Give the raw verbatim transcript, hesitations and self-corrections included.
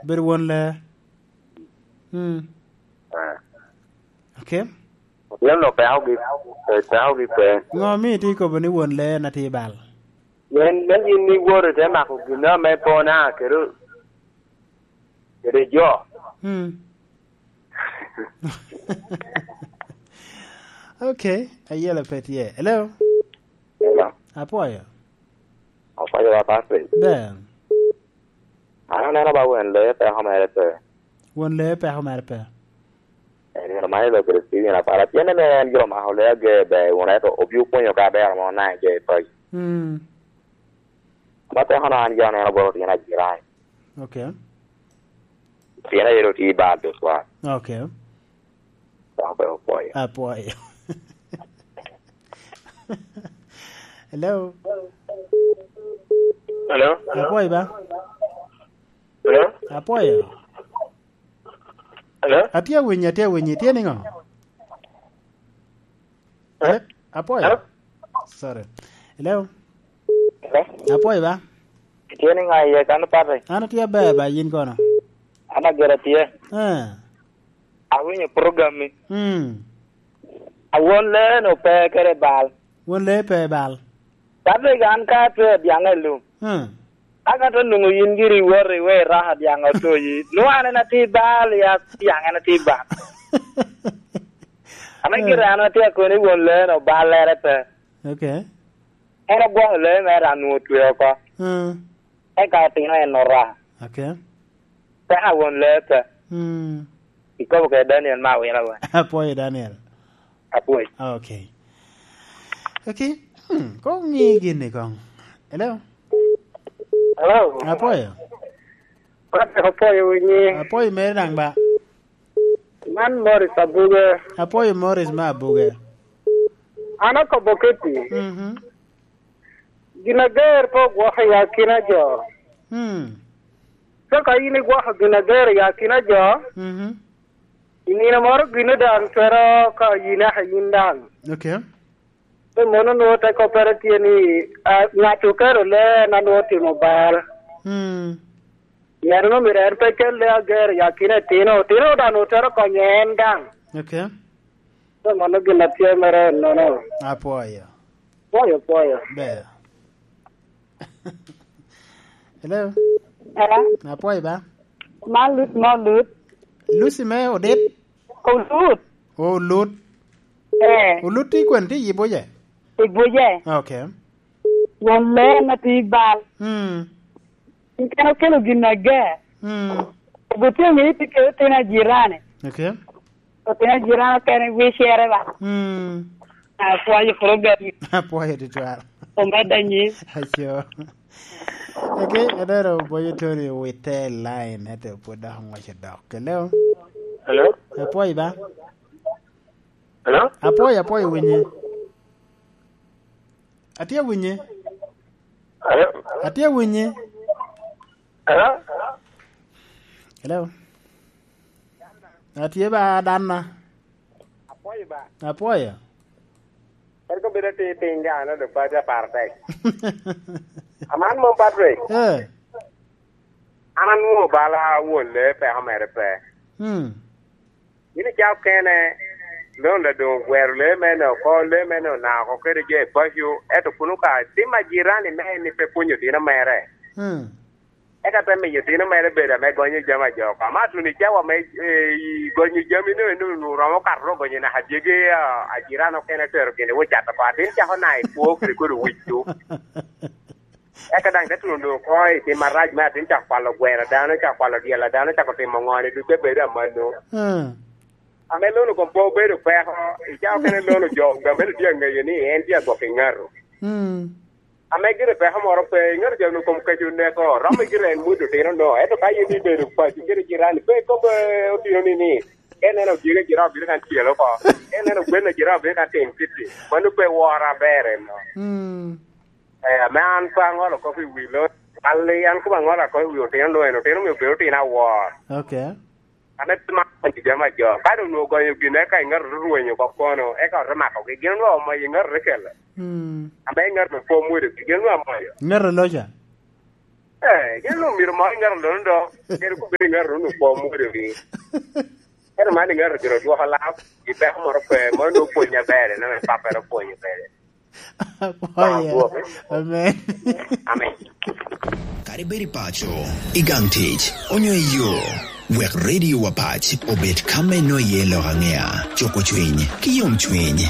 Bedo won lee. Mm. Ah. Okay. Pien lo peko gi, pe-, peko gi pe. Ŋo mi itye kobo ni won lee na tye i bal? Pien me yin iwoto ite mako gin ame pona kede, kede jo. Mm. Okay, ayelo pe tye. Hello? Hello. Apwoyo. Apwoyo wa, Patrick. Ber. An aneno ba won lee peko mere pe. Won lee peko mere pe. En gin omano i lok kede Steven Apala. Pien en en gin omako lee ager ber wun, ento obio pwonyo ka abero mo na en gee i paco. Mm. Ma peko na an gin aneno bot otino ajirani. Okay. Pien aye otye i bal tutwal. Okay. Dok pe opwoyo. Apwoyo. Hello? Hello? Apwoyo ba? Hello? Apwoyo. Hello? Atye awinyi, atye awinyi. Tye niŋo? Hello? Apwoyo. Hello? Sorry. Hello? Hello? Apwoyo ba? Itye niŋo iye kan, Patrick? An atye aber ba, yin kono? An ager atye. Eh. Awinyo program-mi. Mm. Awon lee-nu pe kede bal. Won lee pe bal. Patrick, an ka atweo dyaŋ i lum. Mm. Aka to nwoŋo yin giri iwoto iwe iraka dyaŋ otoyi. Nwoŋo an en atye i bal, ya dyaŋ en atye i bal. Ame Mm. gire an atye akoni won lee-nu ballere pe. Okay. En ogwoko lee mere anwoŋo otweo oko. Mm. Eka otino en ora. Okay. Peka won lee pe. Mm. Ikobo kede Daniel me awila wa. Apwoyo Daniel. Apwoyo. Okay. Okay. Hmm, ko ŋi gini kong. Hello? Hello? Apwoyo. Patrick, apwoyo winyi. Apwoyo mere daŋ ba. Man Morris Abuge. Apwoyo Morris me Abuge. An akobo kiti. Mhm. Gin ager pe ogwoko i akina jo. Hmm. Ka ka in igwoko gin ager i akina jo, mhm, i nino moro gino daŋ twero ka yine aka yin daŋ. Okay. Pe mono nwoŋo te koppere tye ni, ah, ŋat okero lee en a nwoŋo otimo bal. Hmm. Pien omyero en pe kel lee ager i akina etino, otino daŋ otero konyo en daŋ. Okay. Pe mano gin a tye mere ennono. Apwoyo. Pwoyo, pwoyo. Ber. Hello? Hello? Apwoyo ba? Man Lucy me Olut. Lucy me Odit? Olut. Olut. Eh. Olut tye kwene, tye i Buje? I Buje. Okay. Won lee ma tye i bal. Hmm. Kene okelo gin ager. Hmm. Obutye ŋe tye kede otino ajirani. Okay. Otino ajirani okene wicere ba. Hmm. Apwoyo program. Apwoyo tutwal. Omedde anyim. Aco. Okay, adero boyo Tony wite line, ento pwod dok oŋwaco dok. Hello? Hello? Apwoyo ba? Hello? Apwoyo, apwoyo winyi. Atye awinyi. Hello? Atye awinyi. Hello? Hello? Atye ba, Danna. Apwoyo ba. Apwoyo. Kadi ka obedo atir piny, dano dok pe atye aparo tek. Aman mom, Patrick. Eh. An anwoŋo bala won lee peko mere pe. Hmm. Yin ica okene, Londa doŋ ogwero lee mene oko, lee mene onako kede jo i paco, ento kun okaŋ tim ajirani me en ni pe pwonyo otino mere. Hmm. Eka te miyo otino mere bedo ame gonyo jami a jo oko. Ama tuno i cawa me, eh, i gonyo jami no, eno onwoŋo romo kato gonyo naka dyegi, ah, ajirani okene otero gin i wot cato oko. Atin cako na i kwo kede kodi wic-cu. Eka daŋ te tuno doŋ oko i tim arac me atin cako kwalo gwero a dano, cako kwalo dyel a dano, cako timo ŋo ni ducu te bedo amanno. Hmm. Ame Londa koŋ pe obedo peko, i cawa okene Londa jo, jo mene tye aŋeyo ni en tye agwok i ŋato. Hmm. Ame gire peko moro pe, i ŋato jo onwoŋo kom keco oneko, romo gire en mwodo otino no, ento ka in ibedo paco kede jirani, pe ikob, eh, otino ni ni, ka ineno dyegi jirani obino kan tyel oko, ka ineno gwen jirani obino kan tim kiti, mano pe woro aber eno. Hmm. Eh, ame an pe aŋolo kop i wi lo, kal-li an kobo aŋola kop i wi otino lo, en otino omio bedo otino awor. Okay. Ame pe man gonyo jami a jo. Ka doŋ onwoŋo gonyo gin, eka i ŋato rwenyo oko kono, eka ote makogi. Gin onwoŋo omoyo i ŋato te kele. Mm. Ame i ŋato pe omwodogi, gin onwoŋo amoyo. Ŋato loca? Eh, gin omyero moro ŋato nono do. Gin kobedo ŋato nono kwo mwodo wi. Ento man ŋato gire odwoko lap. I peko moro pe, moro nono opwony aber, eno en pappere opwony aber. Apwoyo. Amen. Amen. Kadi bed i paco, i gang tic, onyo i yo, wek Radio wa Pac obed ka me no iye lok aŋea, cuko cwiny, ki yom cwiny.